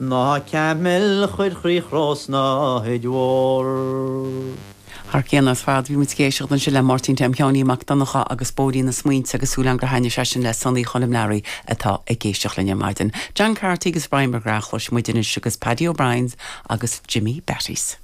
Ná camaill chuir chroí Chrósnáid Mhór. Thar cionn ar fad, bhí muid ag éisteacht ansin le Máirtín Tom Sheáinín Mac Donncha agus Bóithrín na Smaointe agus súil agam gur thaitnigh sé sin le Sonaí Choilm Learaí atá ag éisteacht linn ar maidin. John Carty agus Brian McGrath a chloisfidh muid anois agus Paddy O'Brien's agus Jimmy Beatty's.